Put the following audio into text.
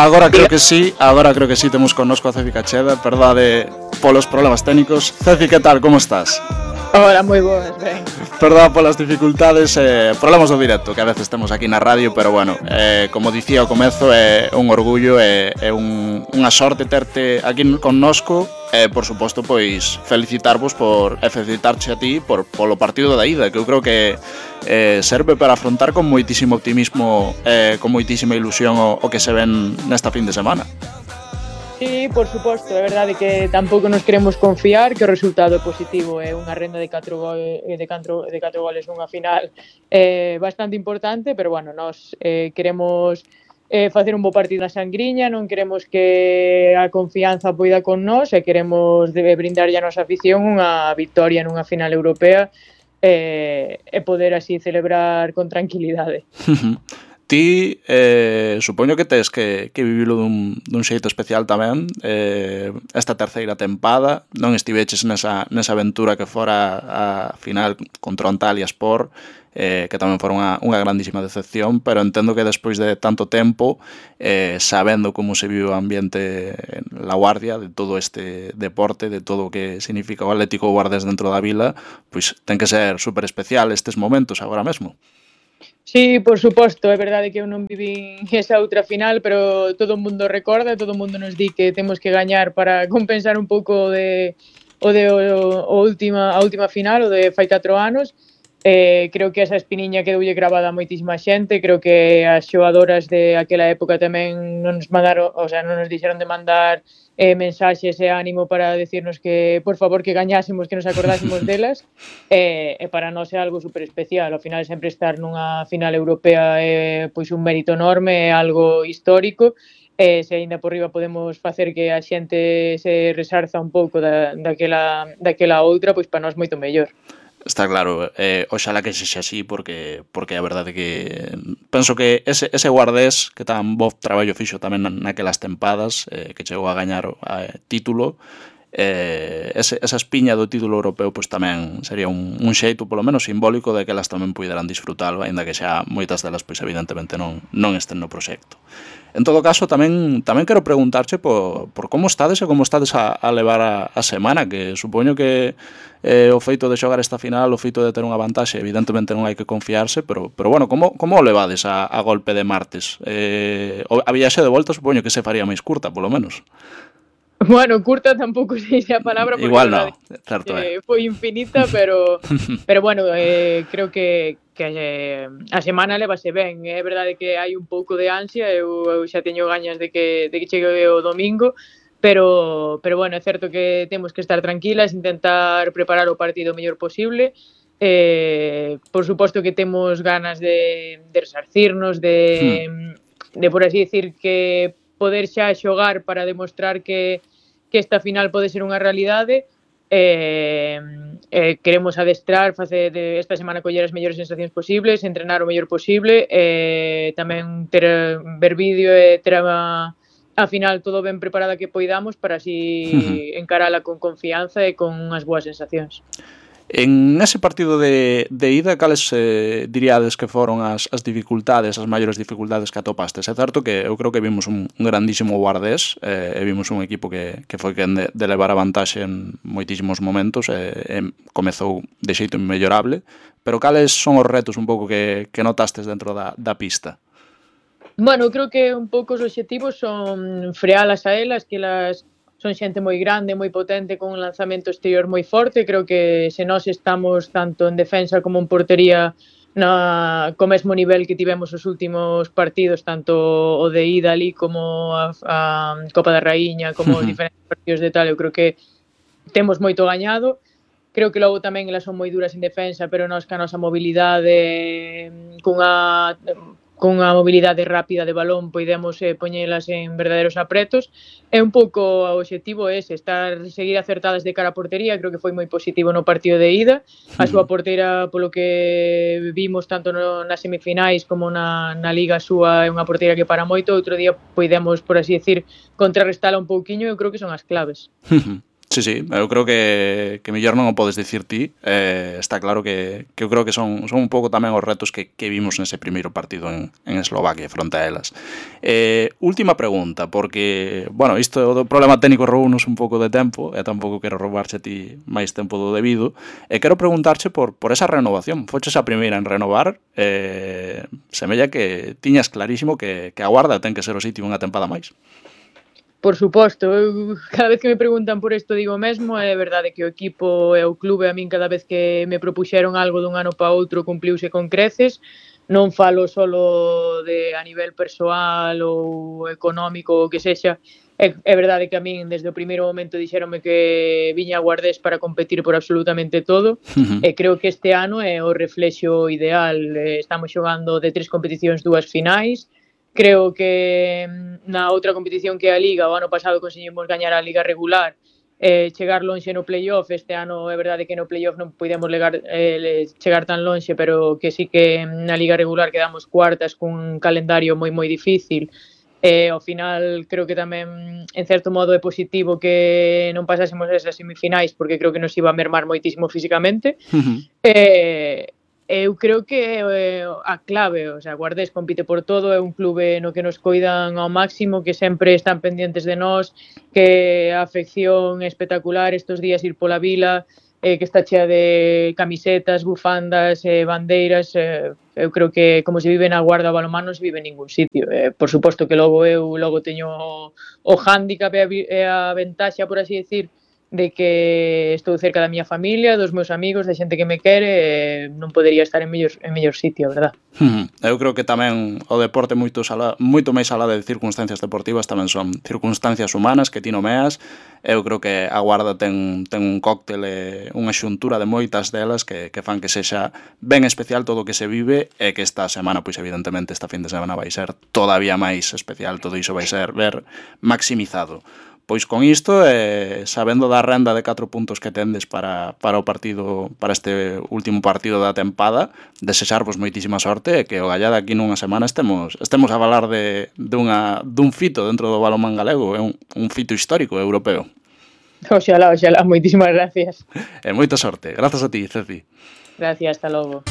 Agora creo que sí, temos connosco a Ceci Cacheda, perdade polos problemas técnicos. Ceci, que tal, como estás? Hola, moi boas, ben. Perdón polas dificultades, problemas do directo que a veces temos aquí na radio, pero bueno, como dicía ao comezo, é un orgullo e unha sorte terte aquí connosco e, por suposto, pois felicitarvos felicitarche a ti polo partido da ida, que eu creo que serve para afrontar con moitísimo optimismo con moitísima ilusión o que se ven nesta fin de semana. Sí, por suposto, é verdade que tampouco nos queremos confiar, que o resultado positivo é unha renda de 4 goles nunha final bastante importante, pero bueno, nós queremos facer un bo partido na Sangriña, non queremos que a confianza poida con nós e queremos brindarlle a nosa afición unha victoria nunha final europea e poder así celebrar con tranquilidade. Ti, supoño que tes que vivilo dun xeito especial tamén, esta terceira tempada, non estiveches nesa aventura que fora a final contra o Antalyaspor, que tamén fora unha grandísima decepción, pero entendo que despois de tanto tempo, sabendo como se vive o ambiente en La Guardia, de todo este deporte, de todo o que significa o Atlético Guardés dentro da vila, pois ten que ser super especial estes momentos agora mesmo. Sí, por suposto, é verdade que eu non vivín esa outra final, pero todo o mundo recorda, todo o mundo nos di que temos que gañar para compensar un pouco a última final, o de fai 4 anos. Creo que esa espiniña quedoulle gravada a moitísima xente, creo que as xogadoras de aquela época tamén non nos mandaron, o sea, non nos dixeron de mandar mensaxes e ánimo para decirnos que, por favor, que gañásemos, que nos acordásemos delas, e para nós é algo super especial. Ao final, sempre estar nunha final europea é pois un mérito enorme, é algo histórico, e se aínda por riba podemos facer que a xente se resarza un pouco daquela outra, pois para nós moito mellor. Está claro, oxalá que sexa así porque a verdade que penso que ese Guardés que tan bo traballo fixo tamén naquelas tempadas, que chegou a gañar título, esa espiña do título europeo pois tamén sería un xeito polo menos simbólico de que elas tamén puideran disfrutalo, aínda que xa moitas delas pois evidentemente non estén no proxecto. En todo caso, tamén quero preguntarche por como estades e como estades a levar a semana, que supoño que o feito de xogar esta final, o feito de ter unha vantaxe, evidentemente non hai que confiarse, pero bueno, como o levades a golpe de martes? A viaxe de volta supoño que se faría máis curta, polo menos. Bueno, curta tampouco sei se a palabra, porque igual non, certo foi infinita, pero bueno, creo que a semana levase ben. É verdade que hai un pouco de ansia, eu xa teño gañas de que chegue o domingo, pero bueno, é certo que temos que estar tranquilas, intentar preparar o partido o mellor posible. Por suposto que temos ganas de resarcirnos, de por así decir, que poder xa xogar para demostrar que esta final pode ser unha realidade. Queremos adestrar, facer esta semana coller as mellores sensacións posibles, entrenar o mellor posible, tamén ver vídeo e ter a final todo ben preparada que poidamos para así encarala con confianza e con unhas boas sensacións. En ese partido de ida, cales diríades que foron as dificultades, as maiores dificultades que atopastes? É certo que eu creo que vimos un grandísimo Guardés e vimos un equipo que foi quen de levar a vantaxe en moitísimos momentos e comezou de xeito inmellorable, pero cales son os retos un pouco que notastes dentro da pista? Bueno, creo que un pouco os obxectivos son frealas a elas, que elas son xente moi grande, moi potente, con un lanzamento exterior moi forte. Creo que se nós estamos tanto en defensa como en portería co mesmo nivel que tivemos os últimos partidos, tanto o de ida ali como a Copa da Raíña, como os diferentes partidos de tal, eu creo que temos moito gañado. Creo que logo tamén elas son moi duras en defensa, pero nós ca nosa mobilidade, cunha mobilidade rápida de balón podemos poñelas en verdaderos apretos. É un pouco o obxectivo ese, seguir acertadas de cara a portería. Creo que foi moi positivo no partido de ida. A súa porteira, polo que vimos tanto nas semifinais como na Liga súa, é unha porteira que para moito. Outro día podemos, por así decir, contrarrestala un pouquiño. Eu creo que son as claves. Sí, eu creo que mellor non o podes dicir ti. Está claro que eu creo que son un pouco tamén os retos que vimos nese primeiro partido en Eslovaquia fronte a elas. Última pregunta, porque, bueno, isto do problema técnico roubounos un pouco de tempo, e tampouco quero roubarche a ti máis tempo do debido, e quero preguntarche por esa renovación. Foches a primeira en renovar, semella que tiñas clarísimo que a Guarda ten que ser o sitio unha tempada máis. Por suposto, eu cada vez que me preguntan por isto digo mesmo, é verdade que o equipo e o clube a min cada vez que me propuxeron algo dun ano para outro cumpliuse con creces, non falo solo de a nivel persoal ou económico ou que sexa, é verdade que a min desde o primeiro momento dixéronme que viña a Guardés para competir por absolutamente todo e creo que este ano é o reflexo ideal, estamos xogando de 3 competicións 2 finais. Creo que na outra competición que é a Liga, o ano pasado conseguimos gañar a Liga regular, chegar lonxe no playoff. Este ano é verdade que no playoff non podemos chegar tan lonxe, pero que sí que na Liga regular quedamos cuartas cun calendario moi difícil. Ao final creo que tamén en certo modo é positivo que non pasásemos esas semifinais, porque creo que nos iba a mermar moitísimo físicamente. Eu creo que a clave, o sea, Guardés compite por todo, é un clube no que nos coidan ao máximo, que sempre están pendientes de nós, que a afección é espectacular, estes días ir pola vila, que está chea de camisetas, bufandas, bandeiras, eu creo que como se vive na Guarda o balonmán non se vive en ningún sitio. Por suposto que logo teño o hándicap e a ventaxa, por así decir, de que estou cerca da miña familia, dos meus amigos, de xente que me quere, non podería estar en mellor sitio, a verdad. Eu creo que tamén o deporte moito máis alá de circunstancias deportivas tamén son circunstancias humanas que ti nomeas. Eu creo que a Guarda ten un cóctel e unha xuntura de moitas delas que fan que sexa ben especial todo o que se vive, e que esta semana, pois evidentemente esta fin de semana vai ser todavía máis especial, todo iso vai ser ver maximizado. Pois con isto, sabendo da renda de 4 puntos que tendes para o partido, para este último partido da tempada, desexarvos moitísima sorte e que o gallada aquí nunha semana estemos a falar dun fito dentro do balonmán galego, é un fito histórico europeo. Oxalá, moitísimas gracias. E moita sorte. Grazas a ti, Ceci. Gracias, hasta logo.